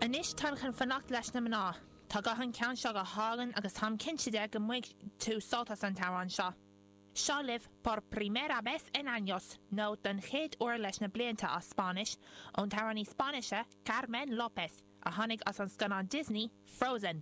Anois táim chun fanacht leis na mná. Tá guth an ceann seo go hálainn agus táim cinnte de go mbainfidh tú sult as an t-amhrán seo. Seo libh Por Primera Vez en Años, nó Don chéad uair leis na blianta as Spáinnis, ón t-amhránaí Spáinnise Carmen López, a tháinig as an scannán Disney, Frozen.